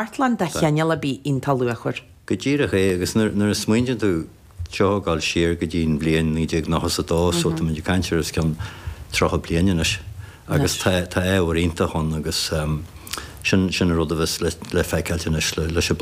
Cartlann de chineál ar bith iontach luachmhar. Go díreach é, agus nuair a smaointíonn tú seo ag dul siar go dtí an bhliain 1992, so táimid ag caint ar os cionn 30 bliain anois, agus tá tá ábhar iontach ann agus sin sin an rud a bheas le le feiceáilt anois leis an.